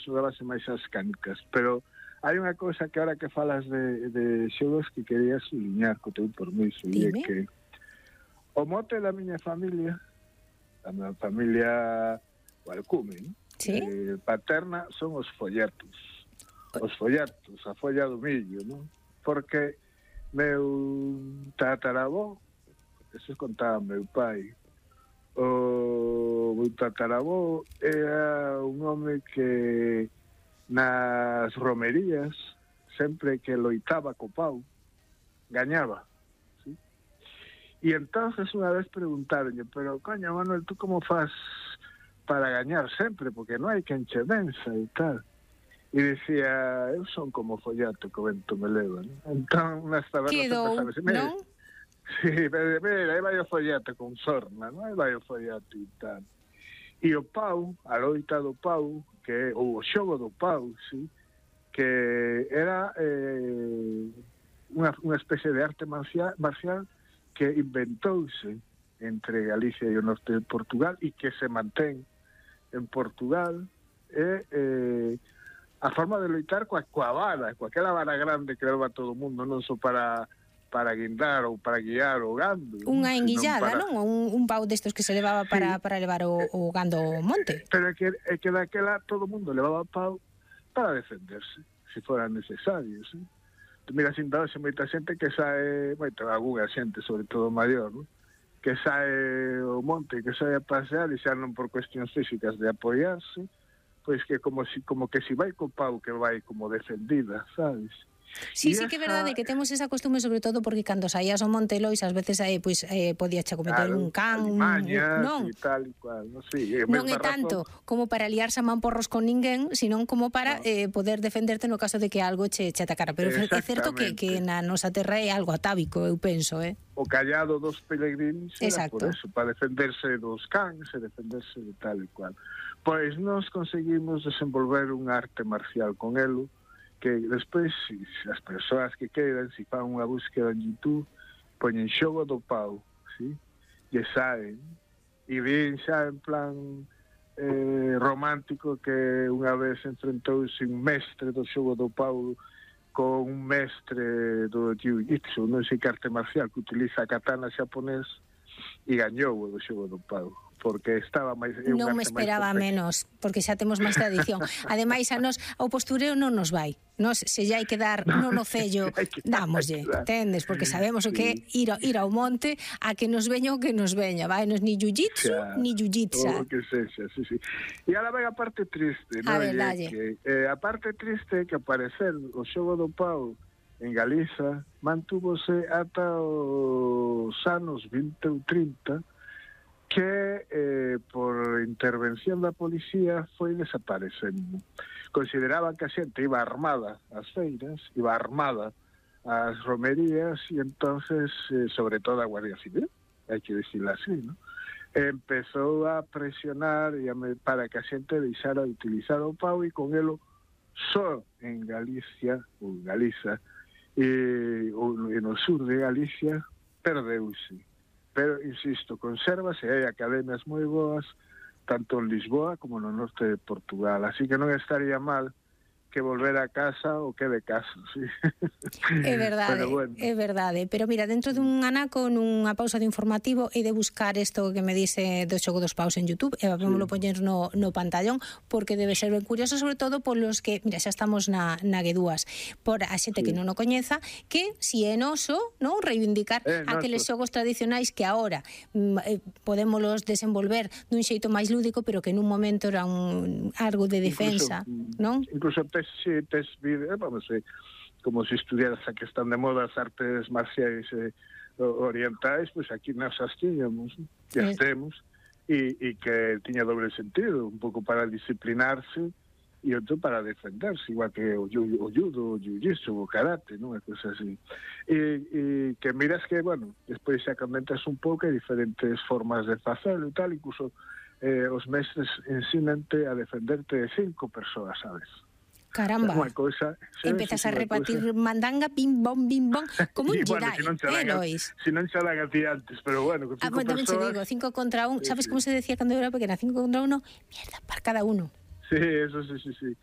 xogábase máis as canicas, pero hai unha cousa que ahora que falas de xogos que quería subliñar co teu permiso, e é que o mote da miña familia, a miña familia Valcume, paterna, son os folletos. Os folletos, a folla do millo, non? Porque meu tataravó, eso contaba meu pai, o meu tataravó era un home que nas romerías, sempre que loitaba co pau, gañaba. ¿Sí? E entonces unha vez preguntaronlle, pero coño, Manuel, tú como faz para gañar sempre? Porque non hai quen che venza e tal. E dicía, eu son como follato que o vento me leva, ¿no? Entón, nas tabernas empezaba así, non? Sí, mira, aí vai o follato con sorna, non? Aí vai o follato e tal. E o pau, a loita do pau, que ou o xogo do pau, sí, que era unha especie de arte marcial que inventouse entre Galicia e o norte de Portugal e que se mantén en Portugal a forma de loitar coa vara, coa aquela vara grande que leva todo o mundo, non só para guindar ou para guiar o gando. Unha enguillada, non? Un pau destos que se levaba para levar o gando ao monte. Pero é que daquela todo o mundo levaba pau para defenderse, se fora necesario, ¿sí? Mira, sin darse moita xente que sae, algunha xente, sobre todo maior, ¿no? Que sae ao monte, que sae a pasear e xa non por cuestións físicas de apoiarse, pois que como que si vai co pau que vai como defendida, sabes? Sí, sí que é verdade que temos esa costume, sobre todo porque cando saías ao Monte Lois ás veces podías che cometer un can, non? E tal e cual, non sei. Non é tanto como para liarse a man porros con ninguén, senón como para poder defenderte no caso de que algo che atacara. Pero é certo que na nosa terra é algo atávico, eu penso, O callado dos peregrinos era por eso, para defenderse dos cans e defenderse de tal e cual. Pois nós conseguimos desenvolver un arte marcial con elo, que despois, as persoas que queiran, se fan unha búsqueda en YouTube, poñen xogo do pau, ¿sí? E saen, e ven xa en plan romántico que unha vez enfrentouse un mestre do xogo do pau con un mestre do jiu-jitsu, non sei que arte marcial, que utiliza a katana xaponés, e gañou o do xogo do pau, porque estaba máis... Non me esperaba menos, porque xa temos máis tradición. Ademais, a nos, o postureo non nos vai. Nos, se xa hai que dar non o cello, dámoslle, entendes? Porque sabemos o que é ir ao monte a que nos veña o que nos veña, vai? Nos ni jiu-jitsu, ni jiu-jitsa. O que sexa, sí. E ahora vai a parte triste, non? A ver, dalle. A parte triste é que aparecer o xogo do pau en Galiza mantúvose ata os anos 20 ou 30, que por intervención da policía foi desaparecendo. Consideraban que a xente iba armada ás feiras, iba armada ás romerías, e entonces, sobre todo a Guardia Civil, hai que dicirlo así, ¿no? Empezou a presionar para que a xente deixara de utilizar o pau, e con elo só en Galicia, ou Galiza, e no sur de Galicia, perdeuse. Pero, insisto, consérvase, hai academias moi boas, tanto en Lisboa como no norte de Portugal. Así que non estaría mal que volver a casa o que de casa, sí. É verdade, bueno. É verdade. Pero mira, dentro dun anaco, nunha pausa de informativo, he de buscar isto que me dice do xogo dos paus en YouTube, e vamos poñer no pantallón, porque debe ser ben curioso, sobre todo polos que, mira, xa estamos na G2, por a xente que non o coñeza, que si é noso, non, reivindicar aqueles xogos tradicionais que agora podémolos desenvolver dun xeito máis lúdico, pero que nun momento era algo de defensa, non? Incluso tes vídeos, vamos, como se estudiaras a que están de moda as artes marciais orientais, pois aquí nas as tiñamos, e as temos, e que tiña doble sentido, un pouco para disciplinarse e outro para defenderse, igual que o judo, o jiu-jitsu, o karate, non? É cosa así. E que miras que, bueno, despois xa comentas un pouco, hai diferentes formas de facelo e tal, incluso os mestres ensinante a defenderte de 5 persoas, sabes? Caramba, empezas a repartir mandanga, bim bom, como un Jedi, Lois? Si non xa dan a ti antes, pero bueno, con 5 persoas... Tamén te digo, 5 contra 1, sabes como se decía cando eu era pequena? 5 contra 1, mierda, para cada uno. Sí, eso sí.